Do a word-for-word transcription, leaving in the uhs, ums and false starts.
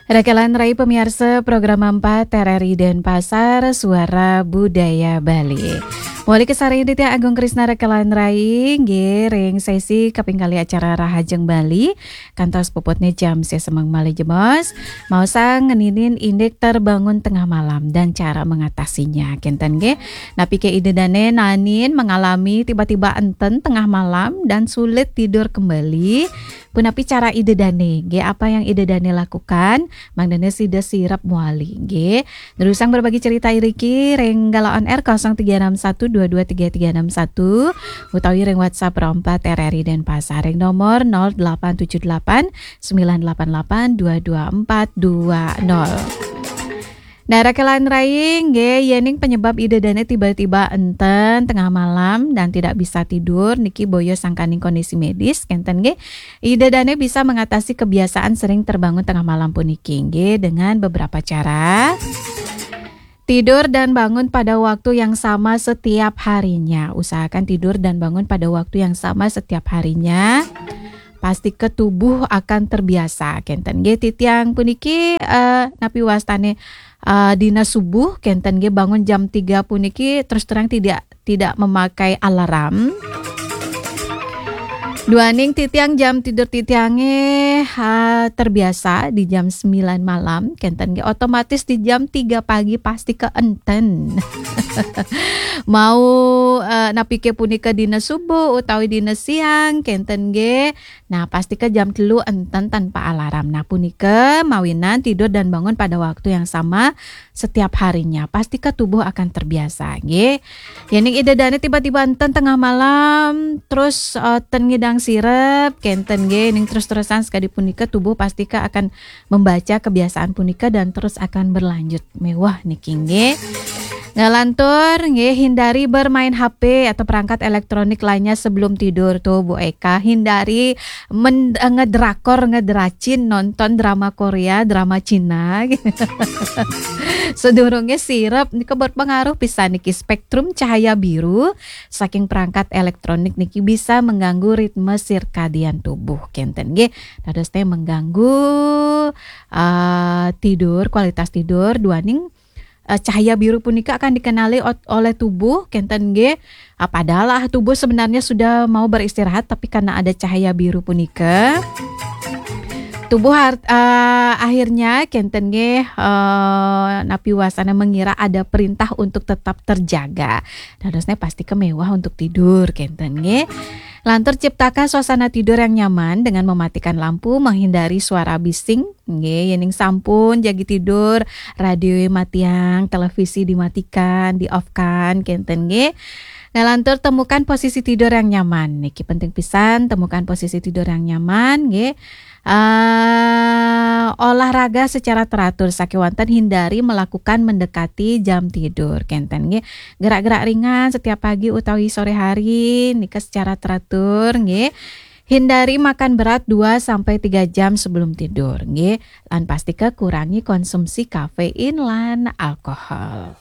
Rekelan Rai pemiarsa program empat R R I Denpasar, Suara Budaya Bali. Mawali kasarengin titiang Agung Krisna Rekelan Rai, nggih, ring sesi kaping kalih acara Rahajeng Bali, kantos puputnya jam sesembang malih jebos, maosang ngeninin indik terbangun tengah malam dan cara mengatasinya, kenten nggih. Napi ke Ida Dane naenin mengalami tiba-tiba enten tengah malam dan sulit tidur kembali? Punapi cara Ida Dane? Nggih, apa yang Ida Dane lakukan mangdane sida sirep mawali, nggih? Nerusang berbagi cerita iriki ring Gala On Air kosong tiga enam satu dua dua tiga tiga enam satu utawi ring WhatsApp Pro empat R R I Denpasar ring nomor nol delapan tujuh delapan sembilan delapan delapan dua dua empat dua nol. Nah, Rekelan Rai, nggih, yening penyebab Ida Dane tiba-tiba enten tengah malam dan tidak bisa tidur, niki boya sangkaning kondisi medis, kenten nggih. Ida Dane bisa mengatasi kebiasaan sering terbangun tengah malam puniki, nggih, dengan beberapa cara. Tidur dan bangun pada waktu yang sama setiap harinya. Usahakan tidur dan bangun pada waktu yang sama setiap harinya. Pastika tubuh akan terbiasa, kenten nggih. Titiang puniki, eh, napi wastane, eh, dina subuh, kenten nggih, bangun jam tiga puniki terus terang tidak, tidak memakai alarm. Duaning titiang jam tidur titiange, eh, terbiasa di jam sembilan malam, kenten nggih, otomatis di jam tiga pagi pastika enten. Mau, eh, napi ke punika dina subuh utawi dina siang, kenten nggih. Nah, pastika jam telu enten tanpa alarm. Nah, punika mawinan tidur dan bangun pada waktu yang sama setiap harinya. Pastika tubuh akan terbiasa, nggih. Yening Ida Dane tiba-tiba enten tengah malam, terus, eh, ten ngidang sirep, kenten nggih, ning terus-terusan sekadi punika tubuh pastika akan membaca kebiasaan punika dan terus akan berlanjut. Mewah niki nggih. Ngalantur nggih, hindari bermain H P atau perangkat elektronik lainnya sebelum tidur tuh, Bu Eka. Hindari men-, eh, ngedrakor, ngedracin, nonton drama Korea, drama Cina. Sedurunge sirep nika berpengaruh pisan niki, spektrum cahaya biru saking perangkat elektronik niki bisa mengganggu ritme sirkadian tubuh, kenten nggih. Dados teh mengganggu, eh, tidur, kualitas tidur, duaning, eh, cahaya biru punika akan dikenali ot-, oleh tubuh, kenten nggih. Ah, padahal, ah, tubuh sebenarnya sudah mau beristirahat, tapi karena ada cahaya biru punika, tubuh har-, eh, akhirnya kenten nggih, eh, napi wasana mengira ada perintah untuk tetap terjaga. Dadosnya pasti kemewah untuk tidur, kenten nggih. Lantur ciptakan suasana tidur yang nyaman dengan mematikan lampu, menghindari suara bising, nggih, yening sampun jagi tidur, radio matiang, televisi dimatikan, di-off-kan, kenten nggih. Nah, lantur temukan posisi tidur yang nyaman. Niki penting pisan, temukan posisi tidur yang nyaman, nggih. Eh, olahraga secara teratur, sakewanten hindari melakukan mendekati jam tidur, kenten nggih. Gerak-gerak ringan setiap pagi utawi sore hari, nika secara teratur, nggih. Hindari makan berat dua sampai tiga jam sebelum tidur, nggih. Lan pastika kurangi konsumsi kafein lan alkohol.